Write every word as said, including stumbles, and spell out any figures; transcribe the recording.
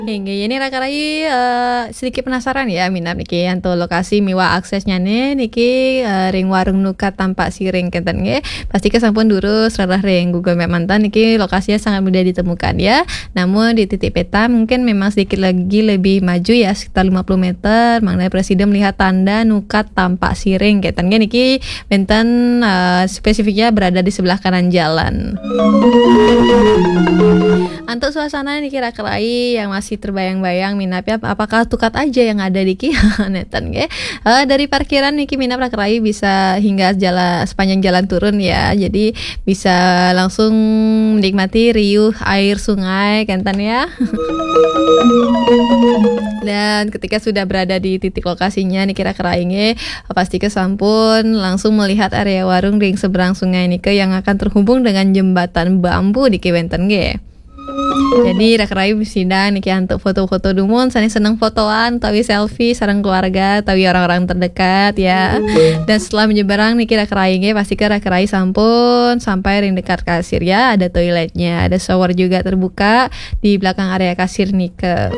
Inggih, ini raka rai, eh, sedikit penasaran ya, minab niki antuk lokasi miwah aksesnya nih, niki, eh, ring warung Nukat Tampak Siring kenten nggih. Pasti ke sampun durus rereh ring Google Map manten, niki lokasinya sangat mudah ditemukan ya. Namun di titik peta mungkin memang sedikit lagi lebih maju ya, sekitar lima puluh meter, mangda prasida melihat tanda Nukat Tampak Siring kenten nggih, niki wenten, eh, spesifiknya berada di sebelah kanan jalan. Antuk suasana niki raka rai yang masih terbayang-bayang minab ya, apakah Tukat aja yang ada niki? Nenten nggih. Eh, dari parkiran niki minab raka rai bisa hingga jala-, sepanjang jalan turun ya. Jadi bisa langsung menikmati riuh air sungai kenten ya. Dan ketika sudah berada di titik lokasinya niki raka rai nggih, pasti ke sampun langsung melihat area warung ring seberang sungai nika yang akan terhubung dengan jembatan bambu niki wenten nggih. Jadi raka rai sidang niki antuk foto-foto dumun, sané seneng fotoan utawi selfie sareng keluarga utawi orang-orang terdekat ya. Dan setelah menyeberang niki raka rai nggih, pasti ke raka rai sampun sampai ring dekat kasir ya. Ada toiletnya, ada shower juga terbuka di belakang area kasir nika.